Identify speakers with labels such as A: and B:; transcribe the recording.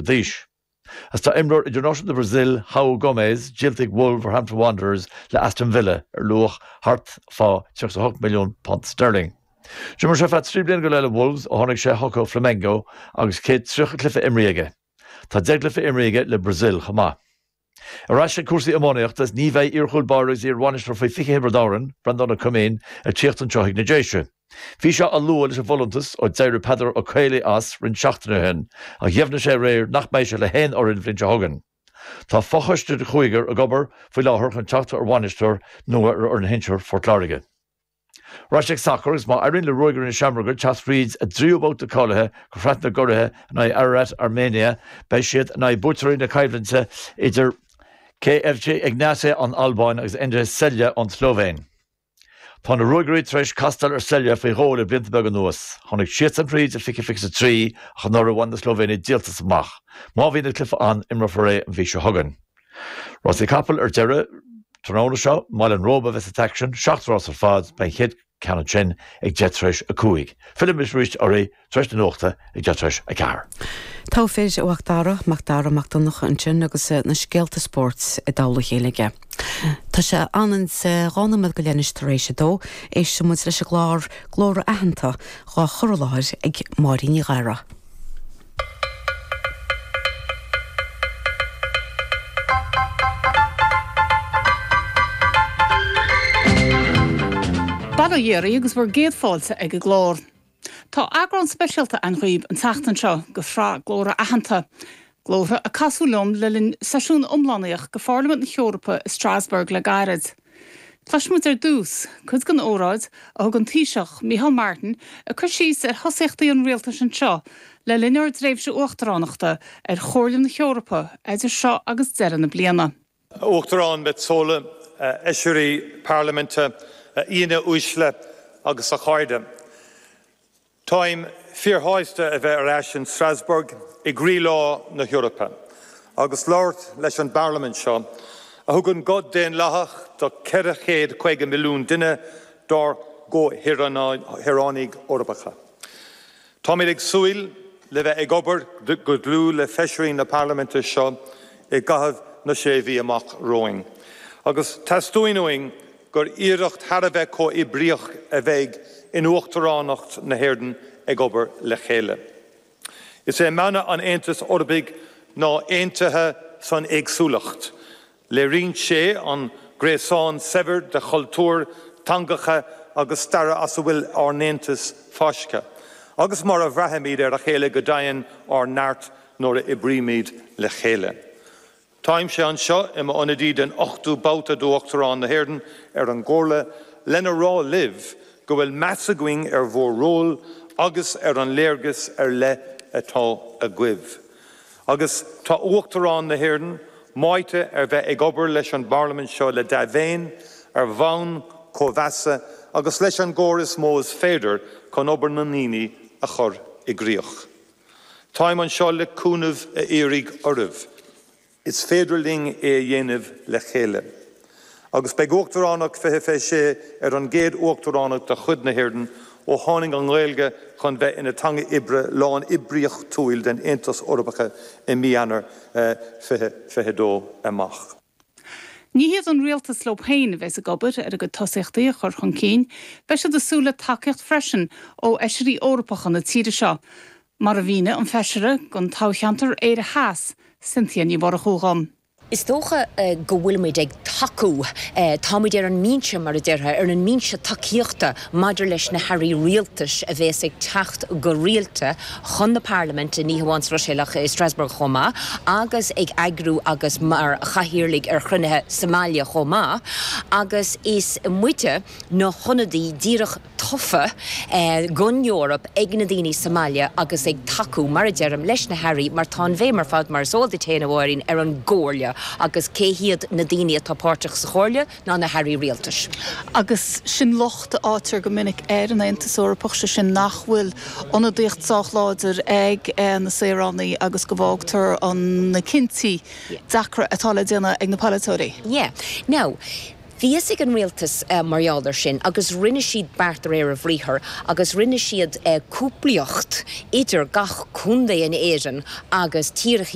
A: d'aois. Agus tá imreoir idirnáisiúnta Brazil, João Gomes, díolta ag Wolverhampton Wanderers le Aston Villa ar luach thart fá £38 milliún sterling. D'imir sé ar feadh 3 bliana go leith le Wolves ó tháinig sé chucu ó Flamengo agus 130 cluiche imrithe aige. Tá 10 gcluiche imrithe aige le Brazil chomh maith. Ar ais ag cúrsaí iománaíochta is ní bheidh iar-chúl báire agus iar-bhainisteoir faoi 20 Thiobraid Árann, Breandán Ó Coimín, ag tíocht anseo chuig na Déise. Bhí sé á lua leis an bhfolúntas ó d'éirigh Peadar Ó Caollaí as roinnt seachtainí ó shin ach dheimhnigh sé aréir nach mbeidh sé le haon fhoireann an bhliain seo chugainn. Tá fochoiste de chúigear ag obair faoi láthair chun teacht ar bhainisteoir nua ar fhoireann shinsir Phort Láirge. Ar ais ag sacar agus má éiríonn le Ruagairí na Seamróige teacht thríd a dtríú babhta cáilithe go Sraith na gCuraithe in aghaidh Ararat Armenia beidh siad in aghaidh buaiteoirí na coimhlinte idir KFC Egnatia ón Albáin agus NK Celje ón tSlóivéin. Tá na Ruagairí tar éis castáil ar Celje faoi dhó le blianta beaga anuas. Tháinig siadsan thríd i 2023 ach anuraidh bhain na Slóivéinigh díoltas amach. Má bhíonn an cluiche ann, imreofar é an mhí seo chugainn. Rásaí capall ar deireadh tráthnóna seo, i mBaile an Róba a bheas an t-aicsean, 7 rás ar fad, beidh an chéad ceann ansin ag 4:10 tar éis. Fillfimid arís oraibh tar éis na nuachta ag 4:10 tar éis.
B: Togha fir, a Mhac Dara, Mac Dara Mac Donncha ansin agus na scéalta spóirt i dtoll a chéile aige. Tá sé ionann is 12 nóiméad anois tar éis a dó. Éistfidh muid leis an gclár Glórtha Aitheanta dhá chur i láthair ag Máirín Ní Ghadhra.
C: Bail ó Dhia oraibh agus bhur gcéad fáilte ag an gclár. Tá eagrán speisialta againn dhaoibh an tseachtain seo de shraith Glórtha Aitheanta, glórtha a casadh liom le linn seisiún iomlánaíoch de Pharlaimint na hEorpa i Strasbourg le gairid. Cloisfimid ar dtús cuid den óráid a thug an Taoiseach, Micheál Martin, ag cur síos ar thosaíochtaí an rialtais anseo le linn ár dtréimhse uachtaránachta ar Chomhairle na hEorpa idir seo agus deireadh na bliana.
D: A Uachtarán Metsola, a Fheisirí Parlaiminte, a aíonna uaisle agus a chairde. Táim fíorshásta a bheith ar ais in Strasbourg i gcroílár na hEorpa agus labhairt leis an bParlaimint seo, a thugann guth daonlathach do 450 milliún duine dár gcomhshaoránaigh Eorpacha. Táimid ag súil le bheith ag obair go dlúth le Feisirí na Parlaiminte seo i gcaitheamh na sé mhí amach romhainn, agus teastaíonn uainn gur iarracht thar a bheith comhoibríoch a bheidh in Uachtaránacht na hÉireann ag obair le chéile. Is é mana an Aontais Eorpaigh ná 'Aontaithe san Éagsúlacht'. Léiríonn sé an gréasán saibhir de chultúir, teangacha agus staire as a bhfuil ár nAontas fáiscthe, agus mar a bhraithimid ar a chéile go deimhin ár neart nuair a oibrímid le chéile. Táimse anseo i m'ionadaí den ochtú babhta d'Uachtarán na hÉireann ar an gComhairle lena rá libh go bhfuil meas againn ar bhur ról agus ar an léargas ar leith atá agaibh. Agus tá Uachtarán na hÉireann meáite ar bheith ag obair leis an bParlaimint seo le dea-mhéin, ar bhonn cóimheasa agus leis an gcomhar is mó is féidir chun obair na ndaoine a chur i gcrích. Táim anseo le cúnamh a iarraidh oraibh. Is féidir linn é a dhéanamh le chéile. Agus beidh Uachtaránacht 2026 ar an gcéad Uachtaránacht de chuid na hÉireann ó tháinig an Ghaeilge chun bheith ina teanga oibre lán-oibríochtúil den Aontas Eorpach i mí Eanáir 2022 amach.
C: Ní hiad an rialtas leo féin a bheas ag obair ar a gcuid tosaíochtaí a chur chun cinn, beidh siad ag súil le tacaíocht freisin ó Fheisirí Eorpacha na tíre seo, mar a mhínigh an Feisire don toghcheantar Éire Theas, Cynthia Ní Mhurchú dhom.
E: Is dócha go bhfuilimid ag tacú, táimid ar an mbinse, mar a déarfá, ar an mbinse tacaíochta maidir leis na hairí rialtais a bhéas ag teacht go rialta chun na Parlaiminte, ní hamháin sa Bhruiséil ach i Strasbourg chomh maith, agus ag eagrú agus mar chathaoirligh ar chruinnithe sa mbaile chomh maith, agus is muide na hionadaí díreach tofa don Eoraip ag na daoine sa mbaile agus ag tacú, mar a deirim, leis na hairí mar tá an bhéim ar fad, mar is eol duit féin, a Mháirín, ar an gComhairle agus cé hiad na daoine atá páirteach sa Chomhairle ná na hairí rialtais.
C: Agus sin locht a fhaightear go minic ar an Aontas Eorpach, sé sin nach bhfuil ionadaíocht sách láidir ag na saoránaigh agus go bhfágtar na cinntí deacra atá le déanamh ag na polaiteoirí.
E: Yeah. Now. Bhí fhios ag an rialtas mar gheall air sin agus rinne siad beart de réir a bhriathair agus rinne siad cúplaíocht idir gach contae in Éirinn agus tíortha.